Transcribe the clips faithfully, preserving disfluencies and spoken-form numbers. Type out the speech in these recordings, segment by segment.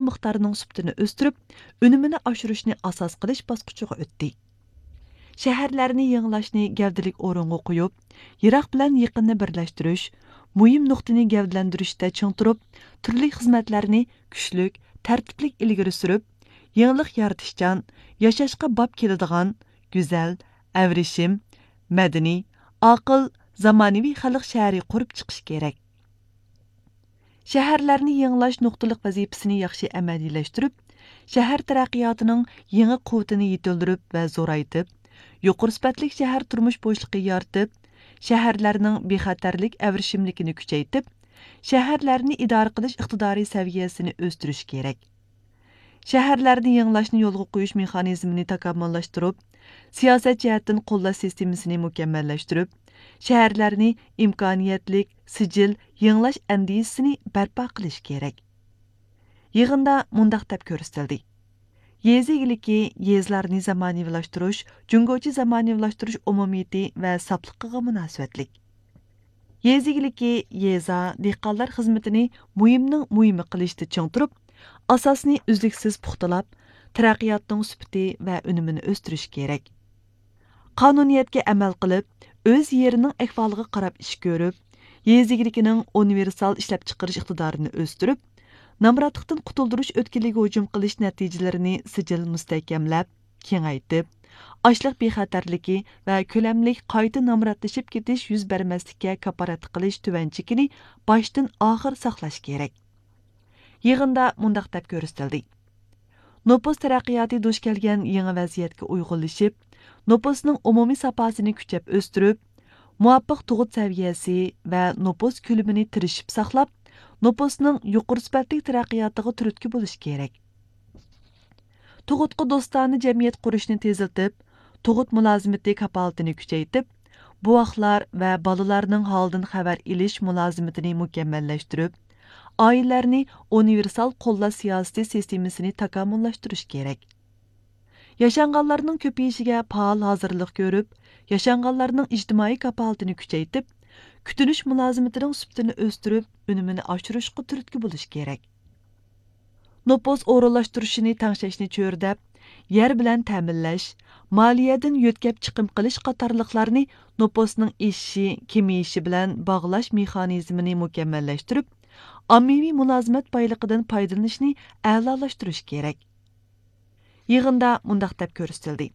مىقدارىنىڭ سۈپىتىنى ئۆستۈرۈپ، ئۈنۈمىنى ئاشۇرۇشنى ئاساس قىلىش باسقۇچىغا ئۆتتى. شەھەرلەرنى يېڭىلاشنى گەۋدىلىك ئورۇنغا قويۇپ، يىراق بىلەن يېقىننى بىرلەشتۈرۈش، مۇھىم نۇقتىنى گەۋدىلەندۈرۈشتە چىڭ تۇرۇپ، تۈرلۈك خىزمەتلەرنى كۈچلۈك، تەرتىپلىك ئىلگىرى سۈرۈپ، يېڭىلىق يارىتىشچان، ياشاشقا باب كېلىدىغان، گۈزەل، ئەۋرىشىم، مەدەنىي، ئاقىل، زامانىۋى خەلق شەھىرى قۇرۇپ چىقىش كېرەك. شەھەرلەرنى يېڭىلاش نۇقتىلىق ۋەزىپىسىنى ياخشى ئەمەلىيلەشتۈرۈپ، شەھەر تەرەققىياتىنىڭ يېڭى قۇۋۋىتىنى يېتىلدۈرۈپ ۋە زورايتىپ، يۇقىرى سۈپەتلىك شەھەر تۇرمۇش بوشلۇقى يارىتىپ، شەھەرلەرنىڭ بىخەتەرلىك ئەۋرىشىملىكىنى كۈچەيتىپ، شەھەرلەرنى ئىدارە قىلىش ئىقتىدارى سەۋىيەسىنى ئۆستۈرۈش كېرەك. شەھەرلەرنى يېڭىلاشنى يولغا قويۇش مېخانىزمىنى تاكامۇللاشتۇرۇپ، سىياسەت جەھەتتىن قوللاش سىستېمىسىنى مۇكەممەللەشتۈرۈپ، شەھەرلەرنى ئىمكانىيەتلىك، سىجىل يېڭىلاش ئەندىزىسىنى بەرپا قىلىش كېرەك. يىغىندا مۇنداق دەپ كۆرسىتىلدى: يېزا ئىگىلىكى يېزىلارنى زامانىۋىلاشتۇرۇش، جۇڭگوچە زامانىۋىلاشتۇرۇش ئومۇمىيىتى ۋە ساپلىقىغا مۇناسىۋەتلىك. يېزا ئىگىلىكى يېزا، دېھقانلار خىزمىتىنى مۇھىمنىڭ مۇھىمى قىلىشتا چىڭ تۇرۇپ، ئاساسنى ئۈزلۈكسىز پۇختىلاپ، تەرەققىياتنىڭ سۈپىتى ۋە ئۈنۈمىنى ئۆستۈرۈش كېرەك. قانۇنىيەتكە ئەمەل قىلىپ، ئۆز يېرىنىڭ ئەھۋالىغا قاراپ ئىش كۆرۈپ، يېزا ئىگىلىكىنىڭ ئۇنىۋېرسال ئىشلەپچىقىرىش ئىقتىدارىنى ئۆستۈرۈپ، نامراتلىقتىن قۇتۇلدۇرۇش ئۆتكىلىگە ھۇجۇم قىلىش نەتىجىلىرىنى سىجىل مۇستەھكەملەپ، كېڭەيتىپ، ئاشلىق بىخەتەرلىكى ۋە كۆلەملىك قايتا نامراتلىشىپ كېتىش يۈز بەرمەسلىككە كاپالەتلىك قىلىش تۆۋەن چېكىنى باشتىن ئاخىر ساقلاش كېرەك. يىغىندا مۇنداق دەپ كۆرسىتىلدى: نوپۇس تەرەققىياتى دۇچ كەلگەن يېڭى ۋەزىيەتكە ئۇيغۇنلىشىپ، نوپۇسنىڭ ئومۇمىي ساپاسىنى كۈچەپ ئۆستۈرۈپ، مۇۋاپىق تۇغۇت سەۋىيەسى ۋە نوپۇس كۆلىمىنى تىرىشىپ ساقلاپ، نوپۇسنىڭ يۇقىرى سۈپەتلىك تەرەققىياتىغا تۈرتكە بولۇش كېرەك. تۇغۇتقا دوستانە جەمئىيەت قۇرۇشنى تېزلىتىپ، تۇغۇت مۇلازىمىتى كاپالىتىنى كۈچەيتىپ، بوۋاقلار ۋە بالىلارنىڭ ھالىدىن خەۋەر ئېلىش مۇلازىمىتىنى مۇكەممەللەشتۈرۈپ، ئائىلىلەرنى ئۇنىۋېرسال قوللاش سىياسىتى سىستېمىسىنى تاكامۇللاشتۇرۇش كېرەك. ياشانغانلارنىڭ كۆپىيىشىگە پائال ھازىرلىق كۆرۈپ، ياشانغانلارنىڭ ئىجتىمائىي كاپالىتىنى كۈچەيتىپ، كۈتۈنۈش مۇلازىمىتىنىڭ سۈپىتىنى ئۆستۈرۈپ، ئۈنۈمىنى ئاشۇرۇشقا تۈرتكە بولۇش كېرەك. نوپۇس ئورۇنلاشتۇرۇشىنى تەڭشەشنى چۆرىدەپ، يەر بىلەن تەمىنلەش، مالىيەدىن يۆتكەپ چىقىم قىلىش قاتارلىقلارنى نوپۇسنىڭ ئېشىشى، كېمىيىشى بىلەن باغلاش مېخانىزمىنى مۇكەممەللەشتۈرۈپ، ئاممىۋى مۇلازىمەت بايلىقىدىن پايدىلىنىشنى ئەلالاشتۇرۇش كېرەك. يىغىندا مۇنداق دەپ كۆرسىتىلدى: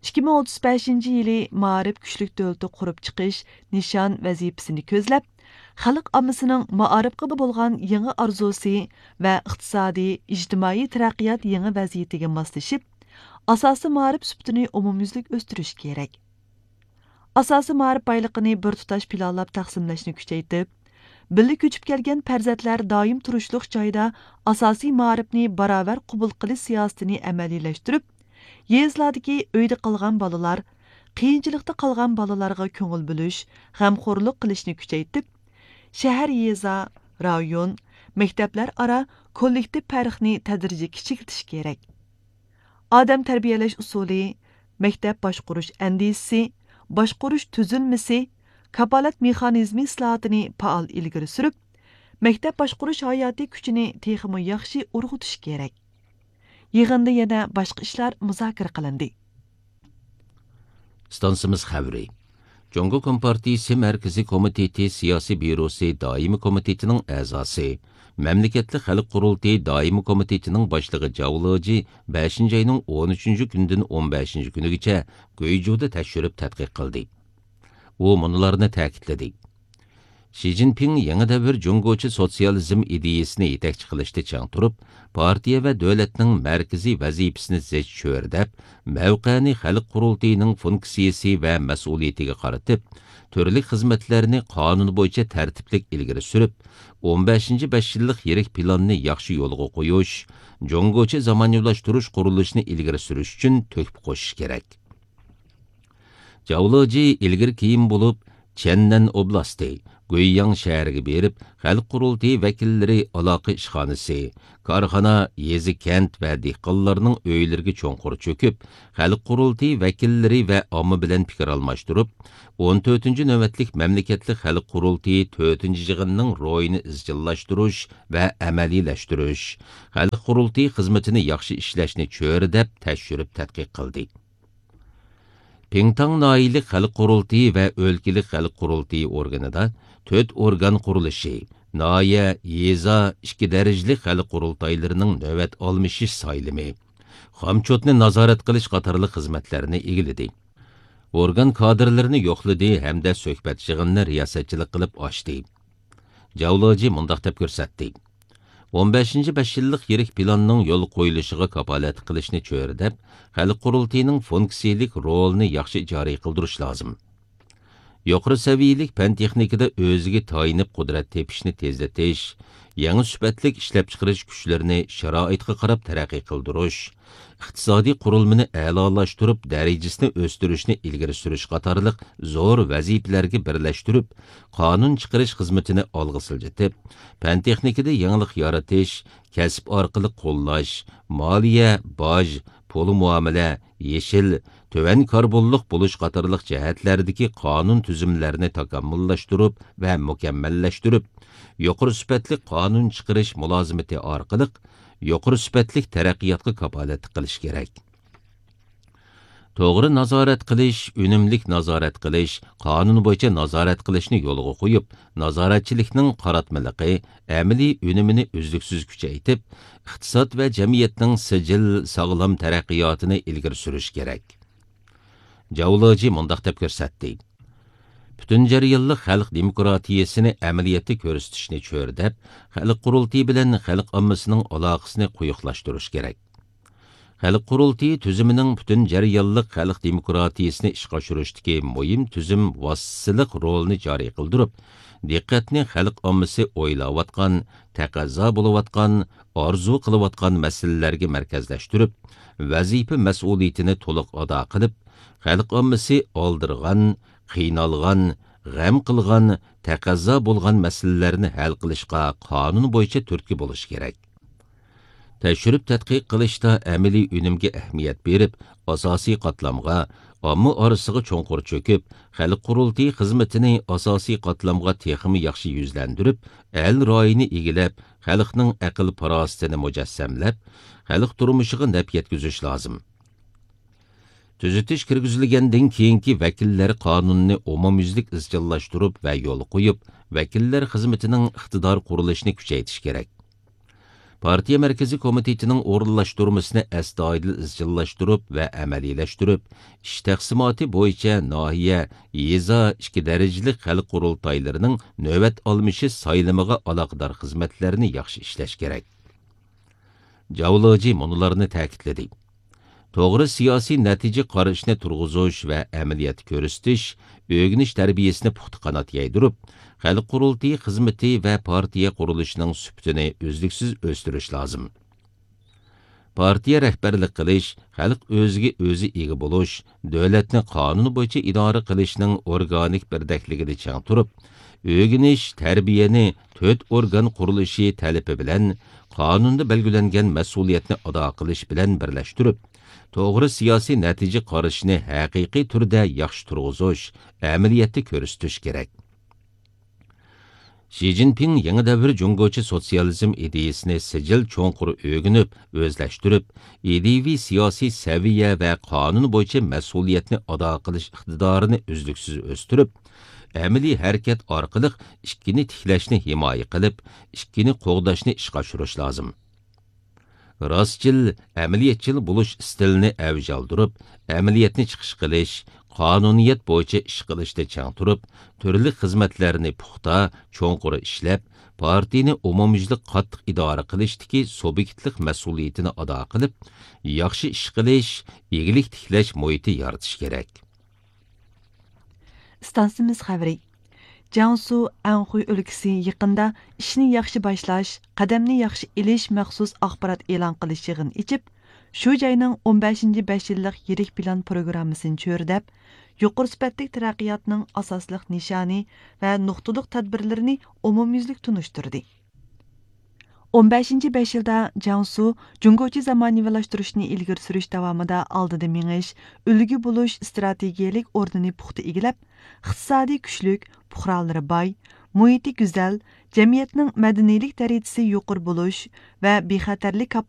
ئىككى مىڭ ئوتتۇز بەشىنچى يىلى مائارىپ كۈچلۈك دۆلىتى قۇرۇپ چىقىش نىشان ۋەزىپىسىنى كۆزلەپ، خەلق ئاممىسىنىڭ مائارىپقا بولغان يېڭى ئارزۇسى ۋە ئىقتىسادىي، ئىجتىمائىي تەرەققىيات يېڭى ۋەزىيىتىگە ماسلىشىپ، ئاساسىي مائارىپ سۈپىتىنى ئومۇميۈزلۈك ئۆستۈرۈش كېرەك. ئاساسىي مائارىپ بايلىقىنى بىر تۇتاش پىلانلاپ تەقسىملەشنى كۈچەيتىپ، بىللە كۆچۈپ كەلگەن پەرزەنتلەر دائىم تۇرۇشلۇق جايدا ئاساسىي مائارىپنى باراۋەر قوبۇل قىلىش سىياسىتىنى ئەمەلىيلەشتۈرۈپ، يېزىلاردىكى ئۆيدە قالغان بالىلار، قىيىنچىلىقتا قالغان بالىلارغا كۆڭۈل بۆلۈش، غەمخورلۇق قىلىشنى كۈچەيتىپ، شەھەر، يېزا، رايون، مەكتەپلەر ئارا كوللېكتىپ پەرقنى تەدرىجىي كىچىكلىتىش كېرەك. ئادەم تەربىيەلەش ئۇسۇلى، مەكتەپ باشقۇرۇش ئەندىزىسى، باشقۇرۇش تۈزۈلمىسى، كاپالەت مېخانىزمى ئىسلاھاتىنى پائال ئىلگىرى سۈرۈپ، مەكتەپ باشقۇرۇش ھاياتىي كۈچىنى تېخىمۇ ياخشى ئۇرغۇتۇش كېرەك. يىغىندا يەنە باشقا ئىشلار مۇزاكىرە قىلىندى. ئىستانسىمىز خەۋىرى. جۇڭگو كومپارتىيىسى مەركىزىي كومىتېتى سىياسىي بيۇروسى دائىمىي كومىتېتىنىڭ ئەزاسى، مەملىكەتلىك خەلق قۇرۇلتىيى دائىمىي كومىتېتىنىڭ باشلىقى جاۋ لېجى بەشىنچى ئاينىڭ ئون ئۈچىنچى كۈنىدىن ئون بەشىنچى كۈنىگىچە گۇيجۇدا تەكشۈرۈپ تەتقىق قىلدى. ئۇ مۇنۇلارنى تەكىتلىدى. شى جىنپىڭ يېڭى دەۋر جۇڭگوچە سوتسىيالىزم ئىدىيىسىنى يېتەكچى قىلىشتا چىڭ تۇرۇپ، پارتىيە ۋە دۆلەتنىڭ مەركىزىي ۋەزىپىسىنى زىچ چۆرىدەپ، مەۋقەنى خەلق قۇرۇلتىيىنىڭ فۇنكسىيىسى ۋە مەسئۇلىيىتىگە قارىتىپ، تۈرلۈك خىزمەتلەرنى قانۇن بويىچە تەرتىپلىك ئىلگىرى سۈرۈپ، ئون بەشىنچى بەش يىللىق يىرىك پىلاننى ياخشى يولغا قويۇش، جۇڭگوچە زامانىۋىلاشتۇرۇش قۇرۇلۇشىنى ئىلگىرى سۈرۈش ئۈچۈن تۆھپە قوشۇش كېرەك. جاۋ لېجى ئىلگىرى كېيىن بولۇپ، چيەننەن ئوبلاستى، گۇيياڭ شەھىرىگە بېرىپ، خەلق قۇرۇلتىيى ۋەكىللىرى ئالاقە ئىشخانىسى، كارخانا، يېزا، كەنت ۋە دېھقانلارنىڭ ئۆيلىرىگە چوڭقۇر چۆكۈپ، خەلق قۇرۇلتىيى ۋەكىللىرى ۋە ئامما بىلەن پىكىر ئالماشتۇرۇپ، ئون تۆتىنچى نۆۋەتلىك مەملىكەتلىك خەلق قۇرۇلتىيى تۆتىنچى يىغىنىنىڭ روھىنى ئىزچىللاشتۇرۇش ۋە ئەمەلىيلەشتۈرۈش، خەلق قۇرۇلتىيى خىزمىتىنى ياخشى ئىشلەشنى چۆرىدەپ تەكشۈرۈپ تەتقىق قىلدى. پىڭتاڭ ناھىيەلىك خەلق قۇرۇلتىيى ۋە ئۆلكىلىك خەلق قۇرۇلتىيى ئورگىنىدا تۆت ئورگان قۇرۇلۇشى، ناھىيە، يېزا، ئىككى دەرىجىلىك خەلق قۇرۇلتايلىرىنىڭ نۆۋەت ئالمىشىش سايلىمى، خامچوتنى نازارەت قىلىش قاتارلىق خىزمەتلەرنى ئىگىلىدى. ئورگان كادىرلىرىنى يوقلىدى ھەمدە سۆھبەت يىغىنىنى رىياسەتچىلىك قىلىپ ئاچتى. جاۋ لېجى مۇنداق دەپ كۆرسەتتى: ئون بەشىنچى بەش يىللىق يىرىك پىلاننىڭ يولغا قويۇلۇشىغا كاپالەتلىك قىلىشنى چۆرىدەپ، خەلق قۇرۇلتىيىنىڭ فۇنكسىيىلىك رولىنى ياخشى جارى قىلدۇرۇش لازىم. يۇقىرى سەۋىيەلىك پەن-تېخنىكىدا ئۆزىگە تايىنىپ قۇدرەت تېپىشنى تېزلىتىش، يېڭى سۈپەتلىك ئىشلەپچىقىرىش كۈچلىرىنى شارائىتقا قاراپ تەرەققىي قىلدۇرۇش، ئىقتىسادىي قۇرۇلمىنى ئەلالاشتۇرۇپ، دەرىجىسىنى ئۆستۈرۈشنى ئىلگىرى سۈرۈش قاتارلىق زور ۋەزىپىلەرگە بىرلەشتۈرۈپ، قانۇن چىقىرىش خىزمىتىنى ئالغا سىلجىتىپ، پەن-تېخنىكىدا يېڭىلىق يارىتىش، كەسىپ ئارقىلىق قوللاش، مالىيە، باج، پۇل مۇئامىلە، يېشىل، تۆۋەن كاربونلۇق بولۇش قاتارلىق جەھەتلەردىكى قانۇن تۈزۈملەرنى تاكامۇللاشتۇرۇپ ۋە مۇكەممەللەشتۈرۈپ، يۇقىرى سۈپەتلىك قانۇن چىقىرىش مۇلازىمىتى ئارقىلىق يۇقىرى سۈپەتلىك تەرەققىياتقا كاپالەتلىك قىلىش كېرەك. توغرا نازارەت قىلىش، ئۈنۈملۈك نازارەت قىلىش، قانۇن بويىچە نازارەت قىلىشنى يولغا قويۇپ، نازارەتچىلىكنىڭ قاراتمىلىقى، ئەمەلىي ئۈنۈمىنى ئۈزلۈكسىز كۈچەيتىپ، ئىقتىساد ۋە جەمئىيەتنىڭ سىجىل، ساغلام تەرەققىياتىنى ئىلگىرى سۈرۈش كېرەك. جاۋ لېجى مۇنداق دەپ كۆرسەتتى: پۈتۈن جەريانلىق خەلق دېموكراتىيەسىنى ئەمەلىيەتتە كۆرسىتىشنى چۆرىدەپ، خەلق قۇرۇلتىيى بىلەن خەلق ئاممىسىنىڭ ئالاقىسىنى قويۇقلاشتۇرۇش كېرەك. خەلق قۇرۇلتىيى تۈزۈمىنىڭ پۈتۈن جەريانلىق خەلق دېموكراتىيەسىنى ئىشقا ئاشۇرۇشتىكى مۇھىم تۈزۈم ۋاسىتىسىلىق رولىنى جارى قىلدۇرۇپ، دىققەتنى خەلق ئاممىسى ئويلاۋاتقان، تەقەززا بولۇۋاتقان، ئارزۇ قىلىۋاتقان مەسىلىلەرگە مەركەزلەشتۈرۈپ، ۋەزىپە مەسئۇلىيىتىنى تولۇق ئادا قىلىپ، خەلق ئاممىسى ئالدىرىغان، قىينالغان، غەم قىلغان، تەقەززا بولغان مەسىلىلەرنى ھەل قىلىشقا قانۇن بويىچە تۈرتكە بولۇشى كېرەك. تەكشۈرۈپ تەتقىق قىلىشتا ئەمەلىي ئۈنۈمگە ئەھمىيەت بېرىپ، ئاساسىي قاتلامغا، ئامما ئارىسىغا چوڭقۇر چۆكۈپ، خەلق قۇرۇلتىيى خىزمىتىنى ئاساسىي قاتلامغا تېخىمۇ ياخشى يۈزلەندۈرۈپ، ئەل رايىنى ئىگىلەپ، خەلقنىڭ ئەقىل-پاراسىتىنى مۇجەسسەملەپ، خەلق تۇرمۇشىغا نەپ يەتكۈزۈش لازىم. تۈزىتىش كىرگۈزۈلگەندىن كېيىنكى ۋەكىللەر قانۇنىنى ئومۇميۈزلۈك ئىزچىللاشتۇرۇپ ۋە يولغا قويۇپ، ۋەكىللەر خىزمىتىنىڭ ئىقتىدار قۇرۇلۇشىنى كۈچەيتىش كېرەك. پارتىيە مەركىزىي كومىتېتىنىڭ ئورۇنلاشتۇرمىسىنى ئەستايىدىل ئىزچىللاشتۇرۇپ ۋە ئەمەلىيلەشتۈرۈپ، ئىش تەقسىماتى بويىچە ناھىيە، يېزا، ئىككى دەرىجىلىك خەلق قۇرۇلتايلىرىنىڭ نۆۋەت ئالمىشىش سايلىمىغا ئالاقىدار خىزمەتلەرنى ياخشى ئىشلەش كېرەك. جاۋ لېجى مۇنۇلارنى تەكىتلىدى: توغرا سىياسىي نەتىجە قارىشىنى تۇرغۇزۇش ۋە ئەمەلىيەتتە كۆرسىتىش، ئۆگىنىش تەربىيەسىنى پۇختا قانات يايدۇرۇپ، خەلق قۇرۇلتىيى خىزمىتى ۋە پارتىيە قۇرۇلۇشىنىڭ سۈپىتىنى ئۈزلۈكسىز ئۆستۈرۈش لازىم. پارتىيە رەھبەرلىك قىلىش، خەلق ئۆزىگە ئۆزى ئىگە بولۇش، دۆلەتنى قانۇن بويىچە ئىدارە قىلىشنىڭ ئورگانىك بىردەكلىكىنى چىڭ تۇرۇپ، ئۆگىنىش، تەربىيەنى تۆت ئورگان قۇرۇلۇشى تەلىپى بىلەن قانۇندا بەلگىلەنگەن مەسئۇلىيەتنى ئادا قىلىش بىلەن بىرلەشتۈرۈپ، توغرا سىياسىي نەتىجە قارىشىنى ھەقىقىي تۈردە ياخشى تۇرغۇزۇش، ئەمەلىيەتتە كۆرسىتىش كېرەك. شى جىنپىڭ يېڭى دەۋر جۇڭگوچە سوتسىيالىزم ئىدىيىسىنى سىجىل چوڭقۇر ئۆگىنىپ، ئۆزلەشتۈرۈپ، ئىدىيىۋى سىياسىي سەۋىيە ۋە قانۇن بويىچە مەسئۇلىيەتنى ئادا قىلىش ئىقتىدارىنى ئۈزلۈكسىز ئۆستۈرۈپ، ئەمەلىي ھەرىكەت ئارقىلىق ئىككىنى تىكلەشنى ھىمايە قىلىپ، ئىككىنى قوغداشنى ئىشقا ئاشۇرۇش لازىم. راستچىل، ئەمەلىيەتچىل بولۇش ئىستىلىنى ئەۋج ئالدۇرۇپ، ئەمەلىيەتنى چىقىش قىلىش، قانۇنىيەت بويىچە ئىش قىلىشتا چىڭ تۇرۇپ، تۈرلۈك خىزمەتلەرنى پۇختا، چوڭقۇر ئىشلەپ، پارتىيىنى ئومۇميۈزلۈك قاتتىق ئىدارە قىلىشتىكى سۇبيېكتلىق مەسئۇلىيىتىنى ئادا قىلىپ، ياخشى ئىش قىلىش، ئىگىلىك تىكلەش مۇھىتى يارىتىش كېرەك. ئىستانسىمىز خەۋىرى. جياڭسۇ ئەنخۇي ئۆلكىسى يېقىندا ئىشنى ياخشى باشلاش، قەدەمنى ياخشى ئېلىش مەخسۇس ئاخبارات ئېلان قىلىش يىغىنى ئېچىپ، شۇ جاينىڭ ئون بەشىنچى بەش يىللىق يىرىك پىلان پروگراممىسىنى چۆرىدەپ، يۇقىرى سۈپەتلىك تەرەققىياتنىڭ ئاساسلىق نىشانى ۋە نۇقتىلىق تەدبىرلىرىنى ئومۇميۈزلۈك تونۇشتۇردى. ئون بەشىنچى بەش يىلدا جياڭسۇ جۇڭگوچە زامانىۋىلاشتۇرۇشنى ئىلگىرى سۈرۈش داۋامىدا ئالدىدا مېڭىش، ئۈلگە بولۇش ئىستراتېگىيەلىك ئورنىنى پۇختا ئىگىلەپ، ئىقتىسادىي كۈچلۈك، پۇقرالىرى باي، مۇھىتى گۈزەل، جەمئىيەتنىڭ مەدەنىيلىك دەرىجىسى يۇقىرى بولۇش ۋە بىخەتەرلىك